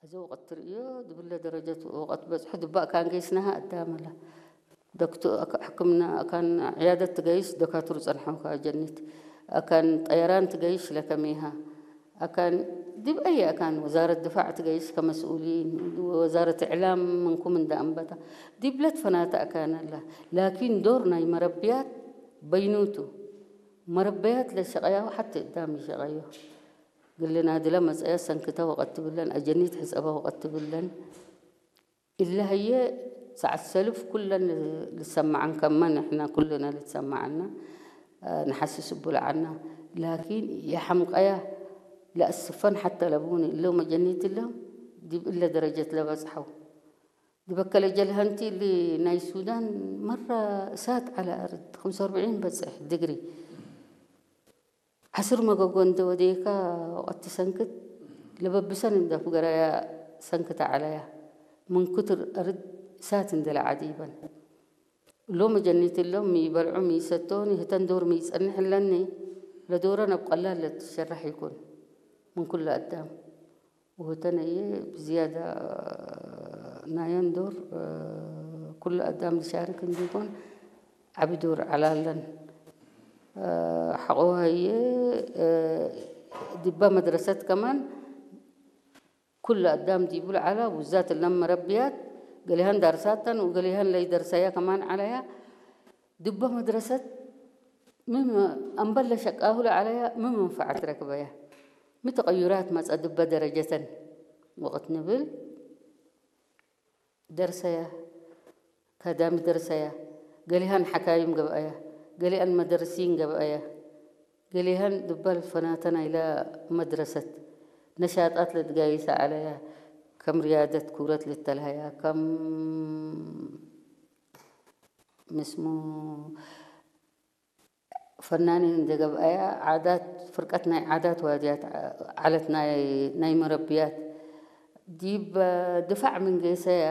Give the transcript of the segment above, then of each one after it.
እዚ ወቐት ትርእዮ ዝብለ ደረጀት ወቐት በጽሑ ድባእ ካን ገይስናሃ ኣዳመላ ዶክቶ ሕክምና ኣካን ዕያደት ትገይስ ደካቱር ጸንሐው ካጀኒት ኣካን ጠየራን ትገይሽ ለከሜሃ ኣካን ዲብ ኣየ ኣካን ወዛረት ድፋዕ ትገይሽ ከመስኡሊን ወዛረት ዕላም ምንኩም እንዳ ኣንበታ ዲብለት ፈናተ ኣካን ኣላ ላኪን ዶር ናይ መረብያት በይኑቱ መረበያት ለሸቐያው ሓቲ እዳም ይሸቐዮ ግልና ድለ መጸያ ሰንክተ ወቐት ትብለን ኣጀኒት ሕጸባ ወቐት ትብለን ኢላህየ ሰዓት ሰልፍ ኩለን ልሰማዓን ከመን ንሕና ኩልና ልትሰማዓና ንሓስስ እቡልዓና ላኪን የሓምቀያ ለኣስፈን ሓተ ለብውን እለው መጀኒት እለው ዲብ እለ ደረጀት ለበጽሐው ድበከለ ጀልሀንቲ እሊ ናይ ሱዳን መራ እሳት ዓላ ኣርድ ከምሰ ኣርብዒን በጽሕ ድግሪ ዓስር መገጎ እንደ ወደየካ ወቐቲ ሰንክት ለበብሰን እንደ ፍገራያ ሰንክት ዓላያ ምን ክትር ኣርድ እሳት እንደ ለዓዲበን ሎም ጀኒት ሎም ሚበልዑ ሚሰቶኒ ህተን ዶር ሚጸንሕ ለኒ ለዶረ ነብ ቀላል ለትሸራሕ ይኩን ምን ኩሉ ኣዳም ወተነየ ብዝያዳ ናየን ዶር ኩሉ ኣዳም ዝሻርክ እንዲኮን ዓቢ ዶር ዓላለን ሓቆሃየ ድባ መድረሰት ከማን ኩሉ ኣዳም ዲቡል ዓላ ውዛት ለም መረብያት ገሊሃን ዳርሳተን ወገሊሃን ለይደርሰያ ከማን ዓላያ ድባ መድረሰት ምን ኣንበለ ሸቃሁለ ዓለያ ምን መንፈዓት ረክበያ ምን ተቐዩራት መጸ ድበ ደረጀተን ወቕት ንብል ደርሰያ ካዳሚ ደርሰያ ገሊሃን ሓካይም ገብኣያ ገሊኣን መደርሲን ገብኣያ ገሊሃን ድበል ፈናተና ኢላ መድረሰት ነሻጣት ለድጋይሳ ዓለያ ከም ሪያደት ኩረት ልተልሃያ ከም ምስሙ ፈናኒን እንደ ገብኣያ ዓዳት ፍርቀት ናይ ዓዳት ዋድያት ዓለት ናይ መረብያት ዲብ ድፋዕ ምን ገይሰያ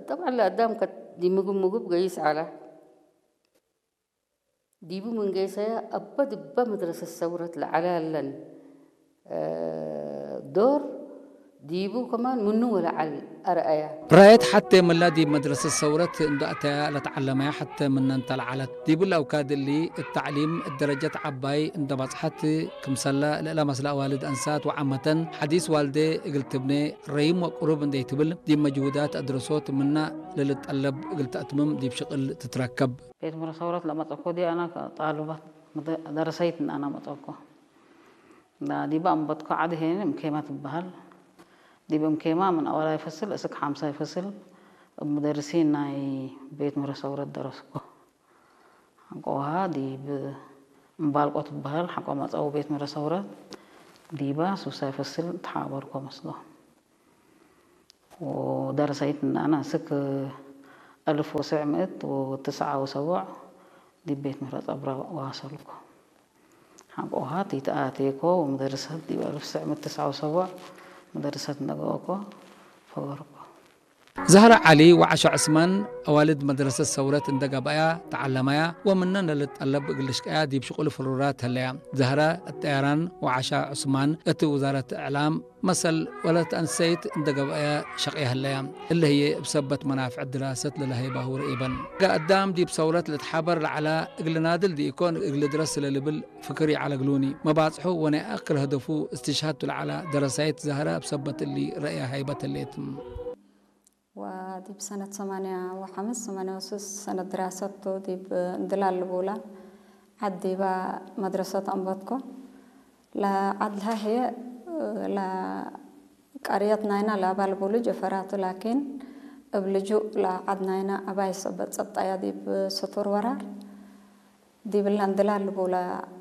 ጠብዓ ለኣዳም ከት ዲምግብ ምግብ ገይስ ዓላ ዲቡ ምን ገይሰያ ኣበ ድበ መድረሰት ሰውረት ለዓላ ለን ዶር ዲቡ ከማን ምኑ ወለዓል ኣርኣያ። ራየት ሐቴ ምላ ዲብ መድረሰት ሰውረት እንዶ ኣተያ ለተዓለመያ ሐቴ ምነን ተለዓለት። ዲብ ለአውካድ እሊ እት ተዕሊም እት ደረጀት ዐባይ እንዶ በጽሐት ክምሰለ ለእለ መስለ አዋልድ አንሳት ወዓመተን ሐዲስ ዋልዴ እግል ትብኔ ረይም ወቅሩብ እንዴ ትብል ዲብ መጅሁዳት አድረሶት ምና ለልጠለብ እግል ተአትምም ዲብ ሽቅል ትትረከብ። ቤት ምረ ሰውረት ለመጸኮ ዲ አና ጣልባት ደረሰይት አና መጸኮ። ዲበ ኣንበትኮ ዓዲ ሄን እምኬማ ትበሃል። ዲብ እምኬማ ምን ኣወላይ ፈስል እስክ ሓምሳይ ፈስል እብ ሙደርሲን ናይ ቤት ምረ ሰውረት ደረስኮ። ሓንቆ ውሃ ዲብ እምባልቆ ትበሃል ሓንቆ መጸው ቤት ምረ ሰውረት ዲባ ሱሳይ ፈስል ተሓበርኮ መስሎ። ወደረሰይት እናና እስክ ألف وتسعمائة وتسعة وسبعين ዲብ ቤት ምረ ጸብራ ዋሰልኮ። ሓንቆሃት ይትኣቴኮ ወምደርሰት ዲብ ألف وتسعمائة وتسعة وسبعين መደርሰት ነገኦኮ ፈገርኮ። ዛህራ ዓሊ ወዓሾ ዕስማን አዋልድ መድረሰት ሰውረት እንደ ገብአያ ተዓለመያ ወምነን ለልትጠለብ እግል ልሽቀያ ዲብ ሽቁል ፍሩራት ህለያ። ዛህራ እት ጠያራን ወዓሻ ዑስማን እት ውዛረት እዕላም መሰል ወለት አንሰይት እንደ ገብአያ ሸቅያ ህለያ። እለ ህዬ እብ ሰበት መናፍዕ ድራሰት ለለሀይባሁ ረኢበን። ገ አዳም ዲብ ሰውረት ልትሓበር ለዐላ እግል ናድል ዲኢኮን እግል ድረስ ለልብል ፍክር ይዓለግሉኒ። መባጽሑ ወናይ አክር ህደፉ እስትሽሃድቱ ለዐላ ደረሳይት ዛህራ እብ ሰበት እሊ ረእያ ሃይበት ህሌት። ወዲብ ሰነት ሰማንያ ወሐምስ ሰማንያ ወስስ ሰነት ድራሰቱ ዲብ እንድላል ልቡላ ዓድ ዲባ መድረሰት አንበትኮ። ለዓድ ለሀህየ ለቀርየት ናይና ለአባል ቡሉ ጀፈራቱ ላኪን እብ ልጁእ ለዓድ ናይና አባይ ሰበት ጸብጣያ ዲብ ስቱር ወራር ዲብላ እንድላል ልቡላ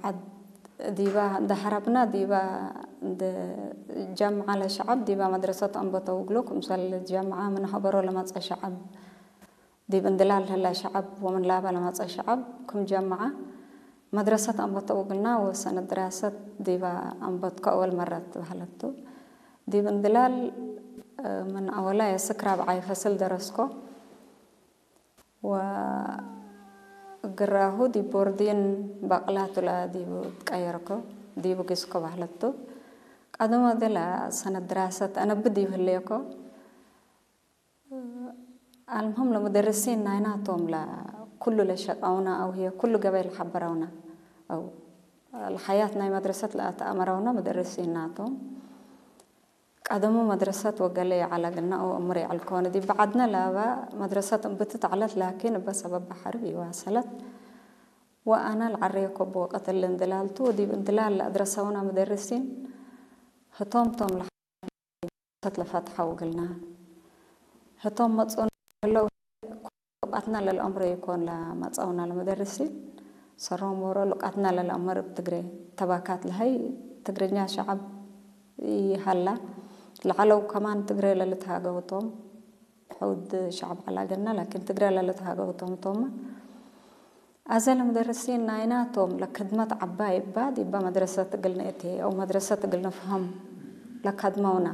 ዓድ ዲባ እንደ ሐረብና ዲባ እንደ ጀምዓ ለሸዐብ ዲባ መድረሰት አንበተው እግሉ ክምሰል ጀምዓ ምን ሀበሮ ለመጸ ሸዐብ ዲብ እንድላል ህላ ሸዐብ ወምን ላባ ለመጸ ሸዐብ ክም ጀምዓ መድረሰት አንበተው እግልና ወሰነት ድራሰት ዲባ አንበትኮ አወል መረት በህለቱ። ዲብ እንድላል ምን አወላይ እስክ ራብዓይ ፈስል ደረስኮ። ወእግራሁ ዲብ ቦርዲን በቅላቱ ለዲቡ ትቀየርኮ ዲቡ ጊስኮ በህለቱ። أدم أدلا سنة دراسة أنا بدي يهليكو. المهم لمدرسين نايناتهم لا كل لشقاونا أو هي كل قبيل حبرونا أو الحياة ناي مدرسة لا تأمرونا مدرسين ناتهم. ቀደሙ መድረሰት ወገለ ይዓላግልና ኦ እምር ይዓልከወነ ዲ በዓድነ ላባ መድረሰት እምብትት ዓለት ላኪን እበ ሰበብ ባሕሪ ይዋሰለት ወአና ለዓረየ ኮቦ ቀትል እንድላልቱ ዲብ እንድላል ለአድረሰውና መደርሲን ህቶም ቶም ለሓሰት ለፈትሐው እግልና ህቶም መጽኡና ህለው ሉቃትና ለልአምሮ ይኮን ለመጸውና ለመደርሲን ሰሮም ወሮ ሉቃትና ለልአምር እብ ትግሬ ተባካት ለሀይ ትግርኛ ሸዓብ ይሃላ ለዓለው ከማን ትግሬ ለልትሃገውቶም ሕውድ ሸዓብ ዓላገና ላኪን ትግሬ ለልትሃገውቶም ቶማ አዘ ለመደርሲን ናይናቶም ለክድመት ዓባይ እባ ዲባ መድረሰት እግል ንእቴ አው መድረሰት እግል ንፍሀም ለካድመውና